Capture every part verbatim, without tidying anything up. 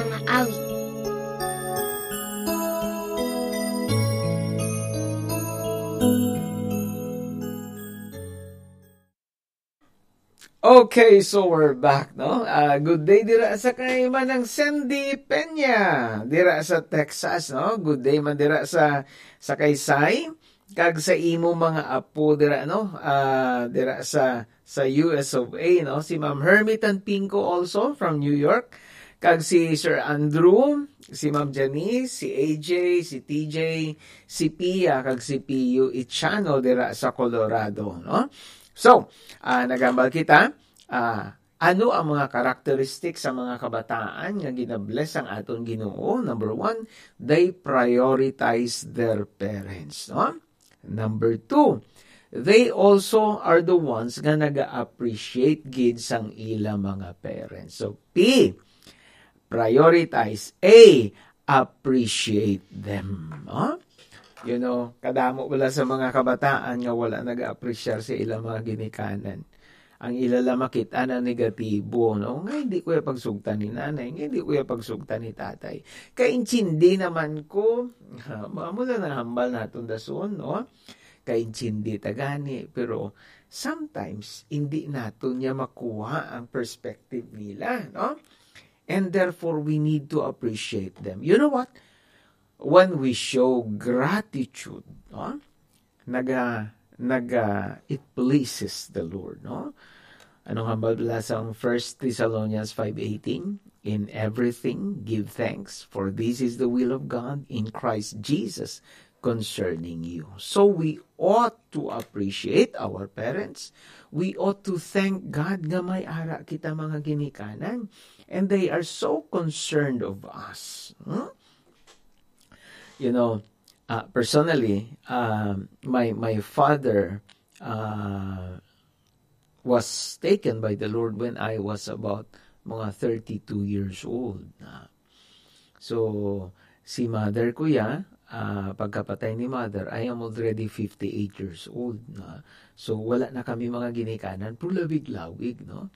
Mga awit. Okay, so we're back, no? Ah, good day dira sa kay Manang Sandy Peña, dira sa Texas, no? Good day man dira sa, sa kay Sai, kag sa imo mga apo dira, no? Ah, dira sa, sa U S of A, no? Si Ma'am Hermie Tanpingco also from New York, kag si Sir Andrew, si Ma'am Janice, si A J, si T J, si Pia, kag si P U Ichano dira sa Colorado, no? So, ah, nagambal kita, ah, ano ang mga karakteristik sa mga kabataan nga ginabless ang aton Ginoo? Number one, they prioritize their parents, no? Number two, they also are the ones nga naga-appreciate gid sang ila mga parents. So, P, prioritize. A, appreciate them, no? You know, kadamo wala sa mga kabataan nga wala nag-appreciate sa ilang mga ginikanan. Ang ila lang makita na negatibo, no? Nga hindi ko ya pagsugtan ni nanay, nga hindi ko ya pagsugtan ni tatay. Kaintindi naman ko, ha, mga mula na hambal naton dason, no? Kaintindi ta gani, pero sometimes hindi naton niya makuha ang perspective nila, no? And therefore, we need to appreciate them. You know what? When we show gratitude, no? Naga, naga, it pleases the Lord, no? Anong hambal bala sa First Thessalonians five eighteen? "In everything, give thanks, for this is the will of God in Christ Jesus concerning you." So we ought to appreciate our parents. We ought to thank God nga may ara kita mga ginikanan. And they are so concerned of us. Hmm? You know, uh, personally, um, my, my father, uh, was taken by the Lord when I was about mga thirty-two years old na. So, si mother ko ya, ah, pagkapatay ni mother, I am already fifty-eight years old na. So, wala na kami mga ginikanan, pero lawig-lawig, no?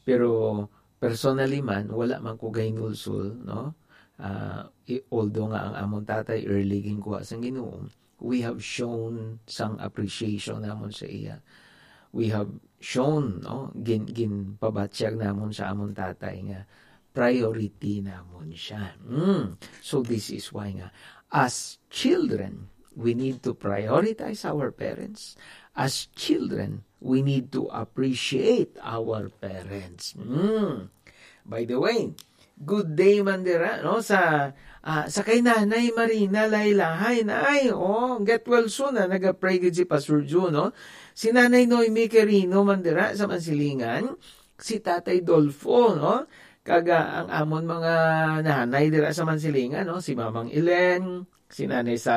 Pero personally man, wala man ko gahinulsol, no? Ah, i-, although nga ang amon tatay early ginkuha sang Ginoo, we have shown sang appreciation namon sa iya. We have shown, no, gin-, ginpabatyag namon sa amon tatay nga priority namon siya. Mm. So this is why nga, as children, we need to prioritize our parents. As children, we need to appreciate our parents. Mm. By the way, good day man dira, no, sa, ah, sa kay Nanay Marina Laylahay. Nay, oh, get well soon, ah. Naga-pray gid si Pastor Jun, no? Si Nanay Noemi Quirino man dira sa Mansilingan, si Tatay Dolfo, no? Kag, ah, ang amon mga nanay dira sa Mansilingan, no? Si Mamang Elen, si Nanay Sally